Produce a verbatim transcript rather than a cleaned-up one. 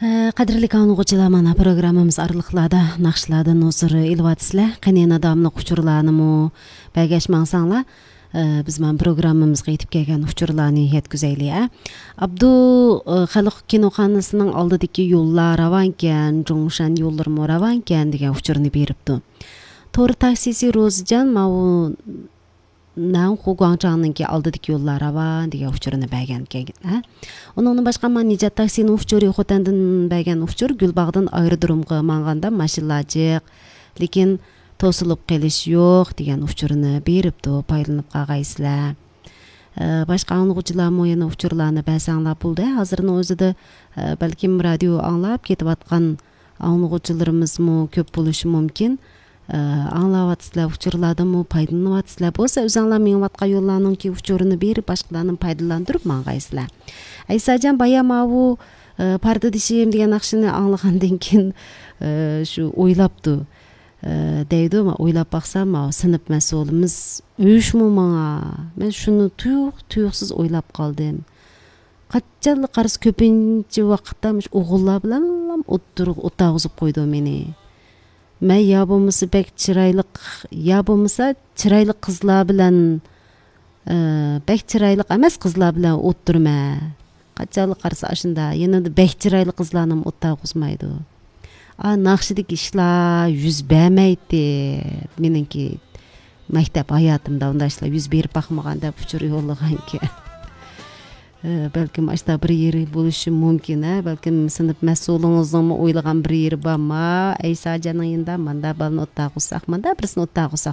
قەدىرلىك ئاڭلىغۇچىلار، مانا پروگراممىمىز ئارىلىقلاردا ناخشىلاردىن ھۇزۇر ئېلىۋاتىسىلەر. قېنى يەنە داۋاملىق ئۇچۇرلارنىمۇ بەرگەچ ماڭساڭلار، ئە، بىز مانا پروگراممىمىزغا يېتىپ كەلگەن ئۇچۇرلارنى يەتكۈزەيلى، ئە. ئابدۇ، ئە، خەلق كىنوخانىسىنىڭ ئالدىدىكى يوللار راۋانكەن، جۇڭشەن يوللىرىمۇ راۋانكەن دېگەن ئۇچۇرنى بېرىپتۇ. تور تاكسىسى روزىجان ماۋۇ نەنخۇ گۇاڭچاڭنىڭكى ئالدىدىكى يوللار راۋان دېگەن ئۇچۇرنى بەرگەنكەن، ھە؟ ئۇنىڭدىن باشقا، مانا نىجات تاكسىنىڭ ئۇچۇرى خوتەندىن بەرگەن ئۇچۇر، گۈلباغدىن ئايرودرومغا ماڭغاندا ماشىنىلار جىق، لېكىن توسۇلۇپ قېلىش يوق دېگەن ئۇچۇرنى بېرىپتۇ، پايدىلىنىپ قالغايسىلەر. ئە، باشقا ئاڭلىغۇچىلارمۇ يەنە ئۇچۇرلارنى بەرسەڭلار بولدى. ھازىرنىڭ ئۆزىدە، ئە، بەلكىم رادىيو ئاڭلاپ كېتىۋاتقان ئاڭلىغۇچىلىرىمىزمۇ كۆپ بولۇشى مۇمكىن. ئە، ئاڭلاۋاتىسىلەر، ئۇچۇرلاردىنمۇ پايدىلىنىۋاتىسىلەر. بولسا ئۆزۈڭلار مېڭىۋاتقان يوللارنىڭكى ئۇچۇرىنى بېرىپ، باشقىلارنى پايدىلاندۇرۇپ ماڭغايسىلەر. ئەيساجان، بايا ماۋۇ، ئە، پاردىدىشىم دېگەن ناخشىنى ئاڭلىغاندىن كېيىن، ئە، شۇ ئويلاپتۇ. ئە، دەيدۇ، مەن ئويلاپ باقسام، ماۋۇ سىنىپ مەسئۇلىمىز ئۆچمۇ ماڭا. مەن شۇنى تۇيۇق-تۇيۇقسىز ئويلاپ قالدىم. قاچانلا قارىسا كۆپىنچە ۋاقىتتا مۇشۇ ئوغۇللار بىلەنلا ئوتتۇرىغا ئولتۇرغۇزۇپ قويىدۇ مېنى. مەن يا بولمىسا بەك چىرايلىق، يا بولمىسا چىرايلىق قىزلار بىلەن، ئە، بەك چىرايلىق ئەمەس قىزلار بىلەن ئولتۇرىمەن. قاچانلا قارىسا ئاشۇندا، يەنە بەك چىرايلىق قىزلارنىمۇ ئولتۇرغۇزمايدۇ. ئا، ناخشىدىكى ئىشلار يۈز بەرمەيتتى. مېنىڭكى مەكتەپ ھاياتىمدا ئۇنداق ئىشلار يۈز بېرىپ باقمىغان دەپ ئۇچۇر يوللىغانكەن. ئە، بەلكىم ئاشتا بىر يېرى بولۇشى مۇمكىن، ھە؟ بەلكىم سىنىپ مەسئۇلىڭىزنىڭمۇ ئويلىغان بىر يېرى بارما؟ ئەيساجاننىڭ يېنىدا ماندا بالىنى ئولتۇرغۇزساق، ماندا بىرسىنى ئولتۇرغۇزساق